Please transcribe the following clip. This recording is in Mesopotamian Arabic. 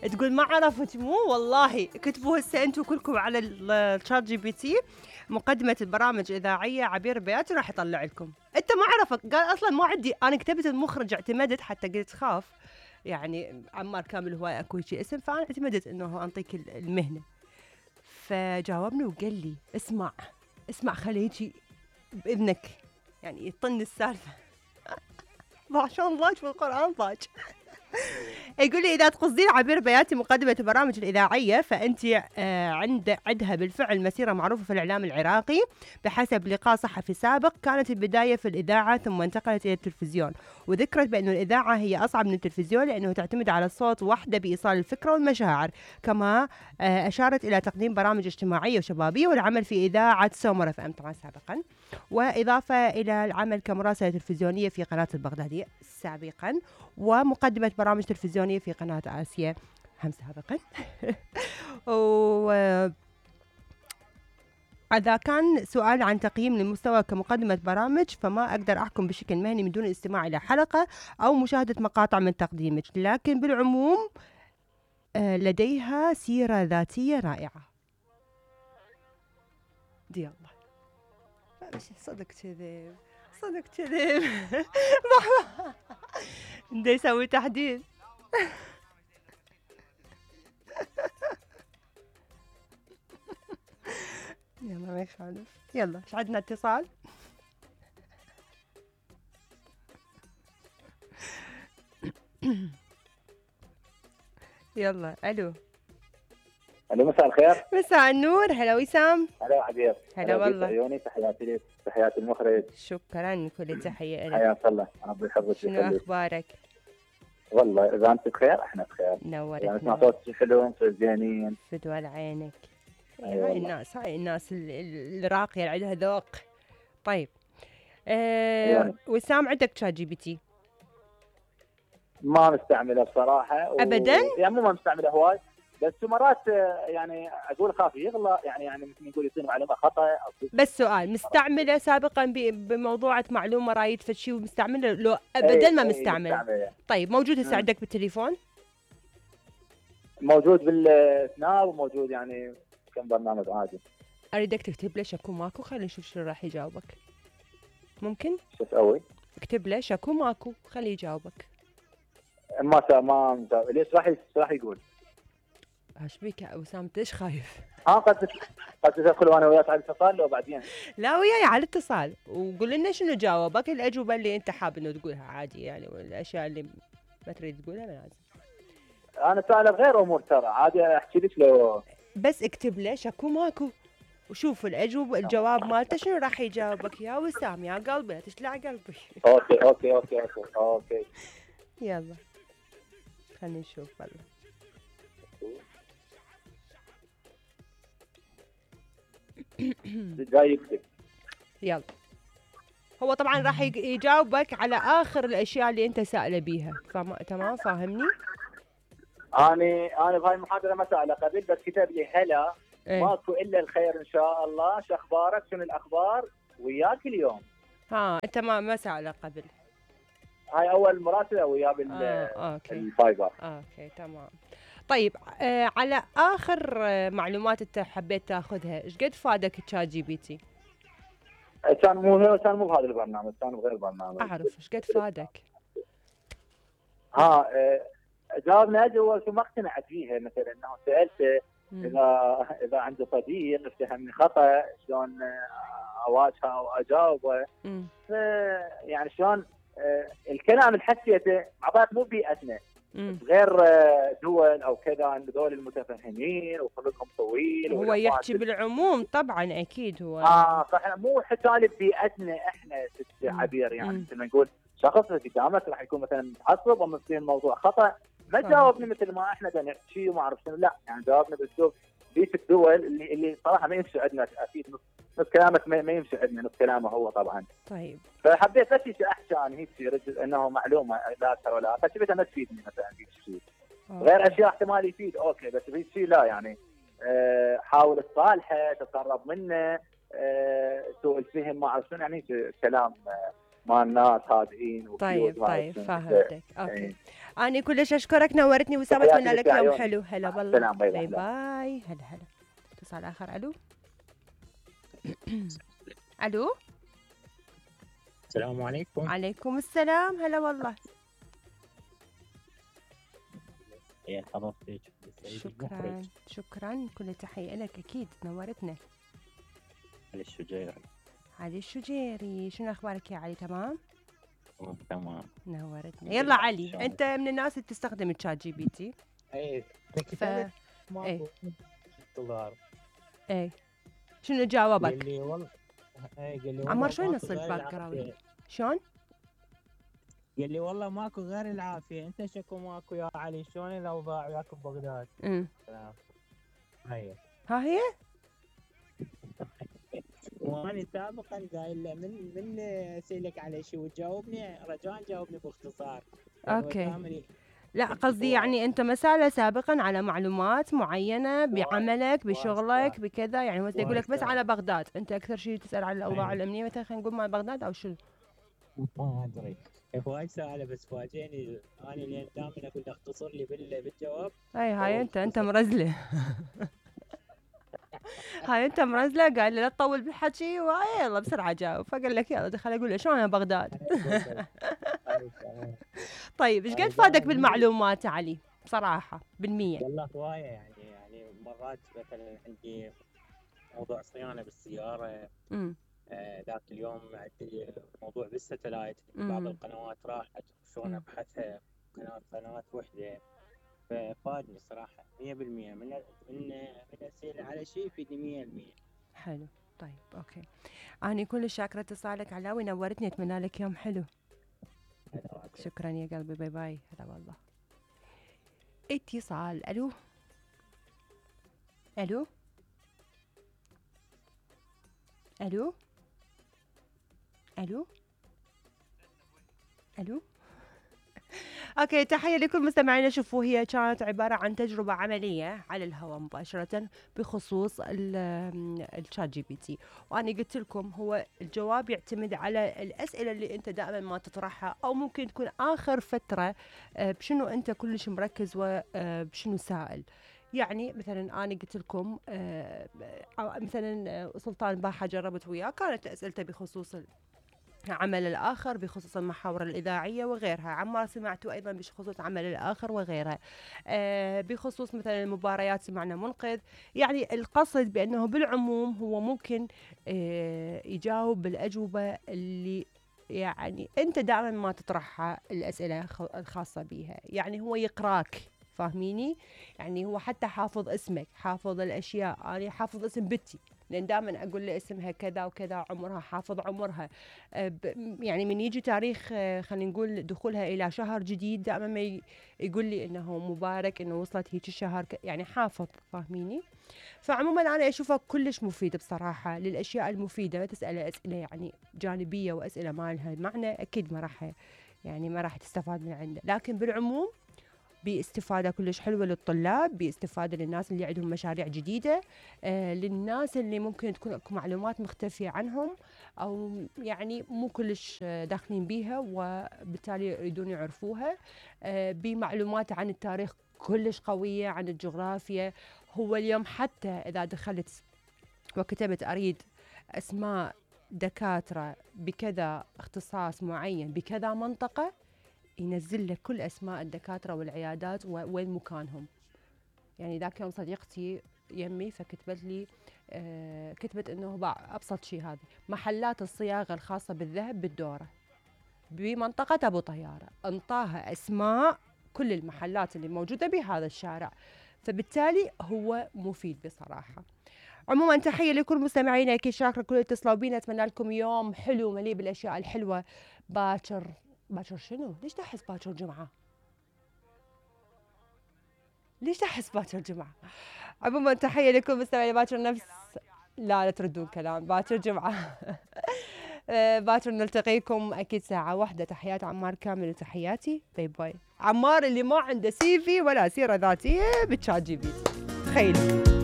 تقول ما عرفت، مو والله كتبوا هسه انتم كلكم على الشات جي بي تي مقدمة البرامج الإذاعية عبير بياتي راح يطلع لكم. انت ما عرفك، قال اصلا ما عندي، انا كتبت المخرج اعتمدت، حتى قلت خاف يعني عمار كامل هو اكو شيء اسم، فانا اعتمدت انه انطيك المهنة. فجاوبني وقال لي اسمع خليجي بإذنك، يعني يطن السالفة. ما شاء الله في القرآن ضاج. يقول لي إذا تقصدين عبير بياتي مقدمة البرامج الإذاعية فأنت عندها بالفعل مسيرة معروفة في الإعلام العراقي. بحسب لقاء صحفي سابق كانت البداية في الإذاعة ثم انتقلت إلى التلفزيون، وذكرت بأن الإذاعة هي أصعب من التلفزيون لأنه تعتمد على الصوت وحده بإيصال الفكرة والمشاعر. كما أشارت إلى تقديم برامج اجتماعية وشبابية والعمل في إذاعة سومر FM طبعا سابقا، وإضافة إلى العمل كمراسلة تلفزيونية في قناة البغدادية سابقا، ومقدمة برامج تلفزيونية في قناة آسيا هم سابقا. إذا كان سؤال عن تقييم للمستوى كمقدمة برامج فما أقدر أحكم بشكل مهني من دون الاستماع إلى حلقة أو مشاهدة مقاطع من تقديمك، لكن بالعموم لديها سيرة ذاتية رائعة. دي الله صدق كذب صدق كذب. بدي يسوي تحديد. يلا ما يخالف. يلا ايش عندنا اتصال. يلا الو. الو مساء الخير. مساء النور. هلا وسام. هلا عبير. هلا والله. عيوني تحياتي لك، تحياتي المخرج. شكرا كل تحيه لك. حياك الله ربي يحفظك. شنو اخبارك؟ والله اذا انت بخير احنا بخير. نورك. يعني اسمع صوتك حلو، انتم زينين. فدوى لعينك. أيوة هاي الناس الراقيه اللي عندها ذوق. طيب وسام عندك شات جي بي تي؟ ما مستعمله بصراحه ابدا؟ يعني مو ما مستعمله هواي، بس مرات يعني اقول خاف يغلط، يعني مثل يقول يعطيني معلومه خطا أو بس سؤال، مستعمله سابقا بموضوعة معلومه رايد فد شيء ومستعمله لو ابدا ما مستعمل؟ طيب موجود هسه عندك بالتليفون؟ موجود بالسناب وموجود يعني كم برنامج عادي. اريدك تكتب له شكو ماكو، خلينا نشوف شنو راح يجاوبك. ممكن؟ شو اسوي؟ اكتب له شكو ماكو خليه يجاوبك. ما ليش راح يقول؟ ايش بيك يا وسام انت ايش خايف؟ قد تدخل وانا وياك على الاتصال لو بعدين؟ لا وياي على الاتصال وقول لنا شنو جاوبك، الاجوبه اللي انت حاب انه تقولها عادي يعني، والاشياء اللي ما تريد تقولها ما لازم. انا سائله بغير امور ترى عادي احكي لك لو بس اكتب له شكو ماكو وشوف الجواب مالته شنو راح يجاوبك يا وسام يا قلبي لا تشلع قلبي. اوكي يلا خلينا نشوف والله. جاي يكتب. يلا هو طبعا راح يجاوبك على اخر الاشياء اللي انت سائله بيها، تمام فاهمني؟ انا بهاي المحاضره ما سأله قبل، بس كتب لي هلا ماكو الا الخير ان شاء الله، شو اخبارك شنو الاخبار وياك اليوم. انت ما سأله قبل؟ هاي اول مراسله وياه بالفايبر. اوكي تمام. طيب على اخر معلومات انت حبيت تاخذها، ايش قد فادك تشات جي بي تي؟ كان مو بهذا البرنامج، كان بغير برنامج. اعرف ايش قد فادك. جاوبنا هو شو ما اقتنعت فيها، مثلا انه سالته اذا عنده صديق اتهمني خطا شلون اواجهه واجاوبه. يعني شلون الكلام اللي حسيته عبارة مو بيئتنا غير دول او كذا، دول المتفهمين وخلقهم طويل. هو يحكي بالعموم طبعا اكيد هو. صح مو حكالي بيئتنا احنا ست عبير، يعني مثل ما نقول شخص قدامك راح يكون مثلا متعصب او مصير الموضوع خطا، ما جاوبني مثل ما احنا بدنا نحكي وما اعرف شنو، لا يعني جاوبنا باسلوب بيئه الدول اللي صراحه ما يمشي عندنا. اكيد نص كلامك ما يمشي عندنا، نص كلامه هو طبعا. طيب فحبيت بس احكي عن هيك شيء انه معلومه لا اكثر ولا اقل، فكرتها ما تفيدني مثلا هيك شيء. غير اشياء احتمال يفيد اوكي، بس هيك شيء لا يعني. حاول تصالحه، تقرب منه، سوء الفهم ما اعرف شنو، يعني كلام مال ناس هادئين طيب وكيوت. فهمتك. اوكي انا كلش اشكرك، نورتني وسام، اتمنى لك يوم حلو. هلا والله، باي باي. هلا هلا. اتصال اخر. الو الو. السلام عليكم. عليكم السلام. هلا والله. يا حضرتك. شكرا شكرا، كل تحية لك. اكيد نورتنا. علي الشجيري. علي الشجيري، شنو اخبارك يا علي؟ تمام تمام نورتنا. يلا علي، انت من الناس اللي تستخدم الشات جي بي تي؟ اي اي دولار. اي شنو جاوبك؟ قال لي والله قال لي عمار شوي نص الباك جراوند. شلون؟ قال لي والله ماكو غير العافيه، انت شكو ماكو يا علي؟ شلون الاوضاع وياك ببغداد؟ هي ها هي. وانا سابقا قايل له من اسالك على شيء وتجاوبني رجاء جاوبني باختصار. اوكي لا قصدي يعني انت مسألة سابقا على معلومات معينة بعملك بشغلك بكذا، يعني هو يقول لك بس على بغداد، انت اكثر شيء تسأل على الاوضاع الامنية مثلا، خلينا نقول مال بغداد او شنو؟ ما ادري. وايد سؤال بس فاجئني انا لين دائما اقول له اختصر لي بالجواب. هاي انت مرزله. هاي انت مرزله، قال لي لا تطول بالحكي وهاي يلا بسرعه جاوب، فقال لك يلا دخل اقول له شلون انا بغداد. طيب ايش قد فادك بالمعلومات علي بصراحه بالمية؟ والله هوايه يعني مرات مثلا عندي موضوع صيانه بالسياره. ذاك اليوم عندي موضوع بالستلايت، بعض القنوات راحت شلون ابحثها، قناه وحده. ففادني صراحه 100%. من اسئله على شيء يفيدني 100%. حلو. طيب اوكي، انا كلش شاكره اتصالك علاوي، نورتني، اتمنى لك يوم حلو. شكرا يا قلبي، باي باي. هلا والله. اتصال. الو الو الو الو الو. اوكي، تحيه لكل مستمعينا. شوفوا هي كانت عباره عن تجربه عمليه على الهواء مباشره بخصوص الشات جي بي تي، وانا قلت لكم هو الجواب يعتمد على الاسئله اللي انت دائما ما تطرحها، او ممكن تكون اخر فتره بشنو انت كلش مركز وبشنو سائل. يعني مثلا انا قلت لكم مثلا سلطان باحه جربت وياه، كانت اسئلته بخصوص عمل الآخر، بخصوص المحاور الإذاعية وغيرها. عمار سمعتوا أيضا بخصوص عمل الآخر وغيرها. بخصوص مثلا المباريات سمعنا منقذ. يعني القصد بأنه بالعموم هو ممكن يجاوب بالأجوبة اللي يعني أنت دائما ما تطرحها الأسئلة الخاصة بها. يعني هو يقراك، فاهميني؟ يعني هو حتى حافظ اسمك، حافظ الأشياء. أنا حافظ اسم بنتي لأن دائما أقول له اسمها كذا وكذا، عمرها، حافظ عمرها. يعني من يجي تاريخ خلينا نقول دخولها إلى شهر جديد، دائما ما يقول لي إنه مبارك، إنه وصلت هيك الشهر، يعني حافظ، فاهميني؟ فعموما أنا أشوفه كلش مفيد بصراحة للأشياء المفيدة. ما تسأله أسئلة يعني جانبية وأسئلة ما لها معنى، أكيد ما راح تستفاد من عنده. لكن بالعموم باستفادة كلش حلوة للطلاب، باستفادة للناس اللي عندهم مشاريع جديدة، للناس اللي ممكن تكون معلومات مختفية عنهم أو يعني مو كلش داخلين بيها وبالتالي يريدون يعرفوها، بمعلومات عن التاريخ كلش قوية، عن الجغرافيا. هو اليوم حتى إذا دخلت وكتبت أريد أسماء دكاترة بكذا اختصاص معين بكذا منطقة، ينزل لك كل أسماء الدكاترة والعيادات وين مكانهم. يعني ذاك يوم صديقتي يمي فكتبت لي كتبت إنه أبسط شيء هذا محلات الصياغة الخاصة بالذهب بالدورة بمنطقة أبو طيارة، انطاها أسماء كل المحلات اللي موجودة بهذا الشارع. فبالتالي هو مفيد بصراحة. عموما تحية لكل مستمعينا، أكيد شاكرة كل اتصلوا بينا، أتمنى لكم يوم حلو مليء بالأشياء الحلوة. باكر شنو؟ ليش تحس باكر جمعة؟ ليش تحس باكر جمعة؟ عموما تحية لكم مستمعين. باكر نفس لا تردون كلام، باكر جمعة. باكر نلتقيكم أكيد ساعة واحدة. تحيات عمار كامل وتحياتي، باي باي. عمار اللي ما عنده CV ولا سيرة ذاتية بالشات جي بي تي، تخيلوا.